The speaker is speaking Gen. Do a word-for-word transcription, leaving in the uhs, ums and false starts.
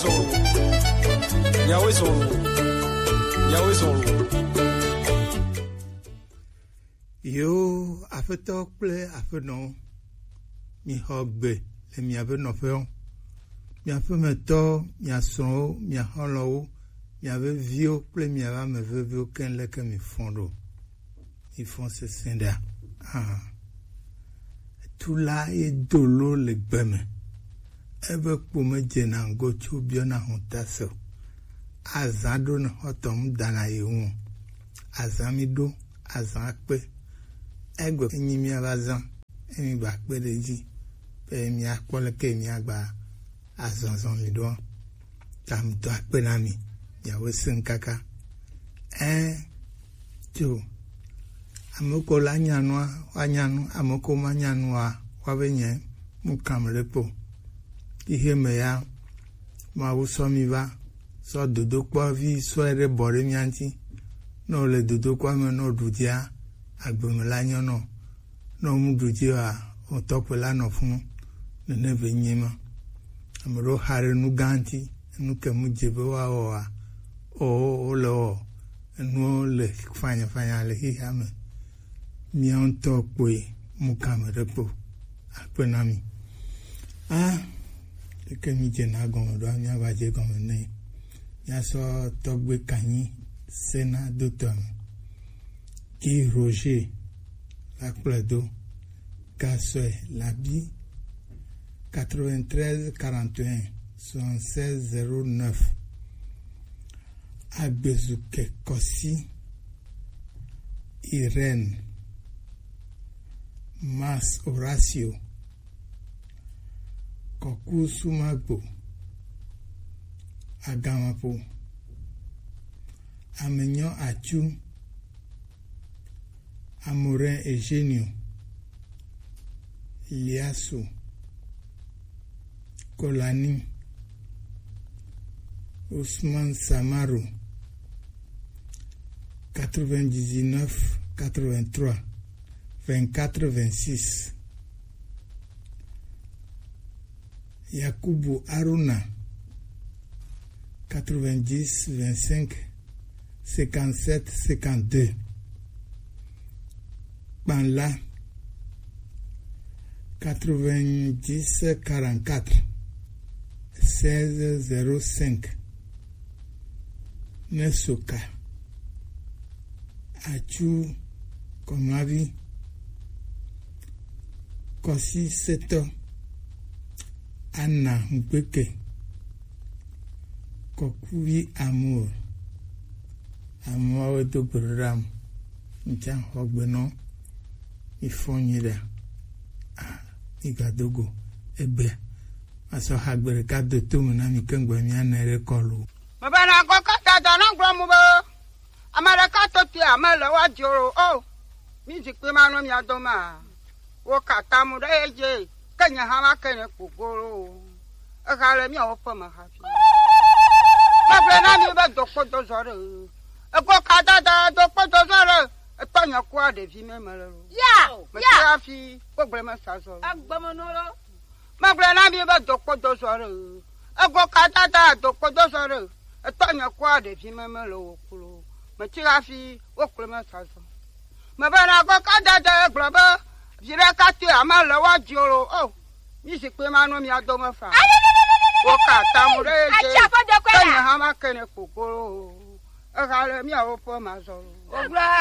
Zɔn. Miawoe zɔn. Miawoe zɔn. Yo, afetɔ kple aƒenɔwo, mixɔ gbe le miaƒe nɔƒewo. Miaƒe metɔwo, mia srɔ̃wo, mia xɔlɔ̃wo, miaƒe viwo kple miaƒe ame veviwo keŋ leke mifɔ ɖo. Mifɔ sesẽ ɖea? Ah. Tula ye do lo le gbe me. Ebe kpo medzena ŋgɔ tso biɔna hɔnta se o. Azã ɖo ne xɔtɔ ŋu dana ye ŋu o. Azã mi ɖo, azã akpe. Egbe enyi miava zã, emi gba kpe ɖe edzi be miakpɔ leke miagba azɔzɔ mi ɖoa. Tamitɔ akpe na mi, miawoe sẽ kaka. Ɛ, tso. Ame ko la nya nua, woanya nu, ame ko manya nua, woabe nye mu kame ɖe kpo. Xixe me ya, Mawu sɔ mi va, sɔ dodokpɔ vi sɔe ɖe bɔ ɖe mia ŋuti. Ne wòle dodokpɔa me, ne wòɖu dzia, agbe me la nyɔ nɔ. Ne wòmu ɖu dzi oa, wòtɔ kpe la nɔ funu. Nene be nye ma. Ame ɖewo xa ɖe nu gã ŋuti, enu ke mu dze be woawɔ oa, o, wole wɔ, enuwo le fanyafanya le xexea me. Mía ŋutɔ kpoe mu kame ɖe kpo. Akpe na mi. A, leke mi dzena gɔme ɖoa, míava dze gɔme nɛ. Míasɔ tɔgbe kanyi sena do tɔ me. Guy Roger va kplɔe do. Gasɔe Labi, quatre-vingt-treize quarante et un soixante-seize zéro neuf. Agbezuke Kɔsi, Irène, Mas Horacio, Kɔku Sumagbo, Agamapo, Amenyo Atsu, Amorin Eugenio, Liasso, Colani, Ousmane Samaro, quatre-vingt-dix-neuf quatre-vingt-trois vingt-quatre vingt-six. Yakubu Haruna, quatre-vingt-dix vingt-cinq cinquante-sept cinquante-deux. Kpanla, quatre-vingt-dix quarante-quatre seize zéro cinq. Nesoka, Atsu Kɔmavi, Kɔsi Setɔ, Ana Ŋgbeke, Kɔkuvi Amour. Ameawo do gbe ɖo ɖa mu. Ŋtsa xɔ gbe nɔ. Mi fɔ nyi ɖa. Ah, mi ga do go. Egbe. Masɔ ha gbe ɖeka do to me na mi keŋ gbe mi ana ɖe kɔlu. Mebe na kɔ kata da na gblɔ mu be, ame ɖeka to te ame le wa dzro o. Mi zikpui ma nɔ mia dome a? Wo ka ta mu ɖe edzi, ke nye hã ma ke ne kpogolo o. Eha le miawo ƒe me hafi. Megblɔ na mi be dokpo dozɔ ɖe. Ego ka dada dokpo dozɔ ɖe. Etɔ nye kua ɖevi me me le lo. Ya, me ya. Ti hafi, wo gblẽ me sa zɔ lo. Agbeme no lo. Megblɔ na mi be dokpo dozɔ ɖe. Ego ka dada dokpo dozɔ ɖe. Etɔ nye kua ɖevi me me le wo klo. Me ti hafi, wo gblẽ me sa zɔ. Mebe na go ka dada gblɔ be, vi ɖeka te ame le wa dzro o. Mi zikpui ma nɔ mia dome fa. Wo ka ta mu ɖe edzi. Ke nye hã ma ke ne kpokpolo o. Eha le miawo ƒe ma zɔ lo. Wogblɔ